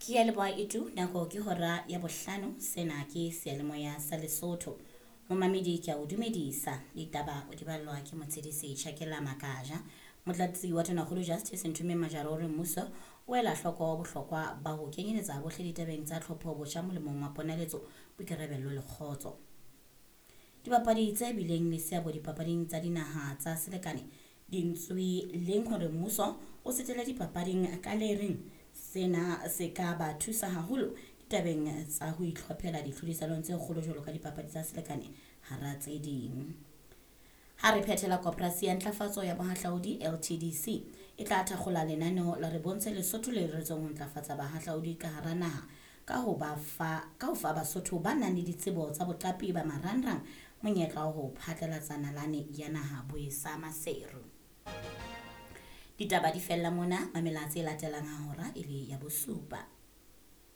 Ke ya leboha Itu, nako ke hora ya bohlano, sena ke seyalemoya sa Lesotho. Momamedi ke a o dumedisa, ditaba o di ballwa ke Motshedisi Tjhakela Makaja. Motlatsi wa Tonakgolo Justice Nthumeng Majara o re mmuso o ela hloko bohlokwa ba ho kenyeletsa bohle ditabeng tsa tlhopho botjha molemong wa ponaletso, boikarabello le kgotso. Dibapadi tse bileng le seabo dipapading tsa dinaha tsa selekane di ntswe leng hore mmuso o setele dipapading ka le reng sena se ka ba thusa haholo ditabeng tsa ho itlhophela ditlhodisanong tse kgolo jwalo ka dipapadi tsa selekane hara tse ding. Ha re phethela koporasi ya ntlafatso ya bohahlaudi LTDC e tla thakgola lenaneo la re bontshe Lesotho le reretsweng ho ntlafatsa bahahlaudi ka hara naha ka ho ba fa ka ho fa Basotho ba nang le ditsebo tsa boqapi ba marangrang monyetla wa ho phatlalatsa nalane ya naha Boesa Maseru. Ditaba di fella mona, mamela tse latelang ha hora e le ya bosupa.